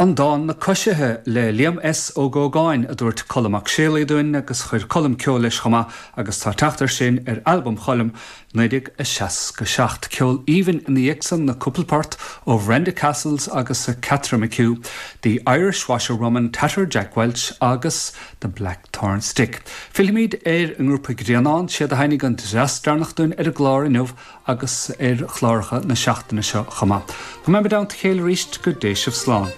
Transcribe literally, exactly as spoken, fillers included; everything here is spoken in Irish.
An dán Na Coisithe le Liam S. Ó Gógáin a dúirt Colm Mac Séalaigh dúinn agus chuir Colm ceol leis chomh maith agus tá teacht air sin ar albam Choilm naoi déag a seasca seacht. Ceol aoibhinn ina dhiaidh san na cúpla port ó Bhrenda Casles agus Catherine McHugh, The Irish Washerwoman, Tattered Jack Welch agus The Blackthorn Stick. Fillfimid ar an ngrúpa Grianán siad a sheinn an dreas deireanach dúinn ar an gclár inniu agus ar chláracha na seachtaine seo chomh maith. Go mbeimid i dteannta a chéile arís go dté sibh slán.